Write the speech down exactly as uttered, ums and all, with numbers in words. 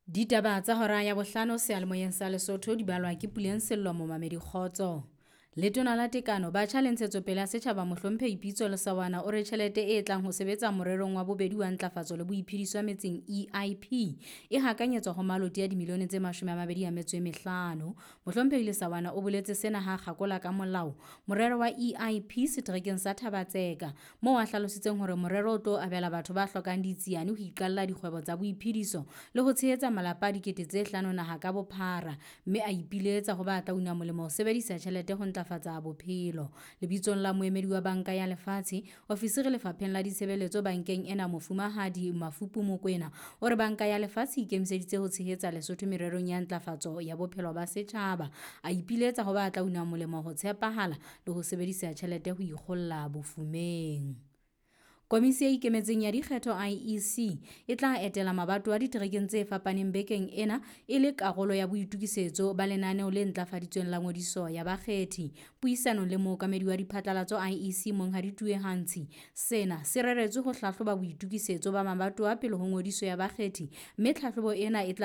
Ditaba tsa hora ya bohlano seyalemoyeng sa Lesotho di balwa ke Puleng Sello momamedi kgotso. Letona la Tekano, Batjha le Ntshetsopele ya Setjhaba Mohlomphehi Pitso Lesaoana o re tjhelete e tlang ho sebetsa morerong wa bobedi wa ntlafatso le boiphediso metseng E I P e hakanyetswa ho maloti a dimilione tse mashome a mabedi a metso e mehlano. Mohlomphehi Lesaoana o boletse sena ha kgakola ka molao morero wa E I P seterekeng sa Thaba-Tseka, moo a hlalositseng hore morero o tlo abela batho ba hlokang ditsiane ho iqalla dikgwebo tsa boiphediso le ho tshehetsa malapa a dikete tse hlano naha ka bophara, mme a ipiletsa ho ba tla una molemo ho sebedisa tjhelete ho ntlafatsa bophelo. Lebitsong la moemedi wa Banka ya Lefatshe, ofisiri lefapheng la ditshebeletso bankeng ena Mofumahadi Mafupu Mokwena o re Banka ya Lefatshe e ikemiseditse ho tshehetsa Lesotho mererong ya ntlafatso ya bophelo ba setjhaba. A ipiletsa ho ba tla una molemo ho tshepahala le ho sebedisa tjhelete ho ikgolla bofumeng. Komisi e ikemetseng ya dikgetho I E C e tla etela mabatowa diterekeng tse fapaneng bekeng ena e le karolo ya boitokisetso ba lenaneo le ntlafaditsweng la ngodiso ya bakgethi. Puisanong le mookamedi wa diphatlalatso I E C Monghadi Tue Hantshe, sena se reretswe ho hlahloba boitokisetso ba mabatowa pele ho ngodiso ya bakgethi, mme tlhahlobo ena e tla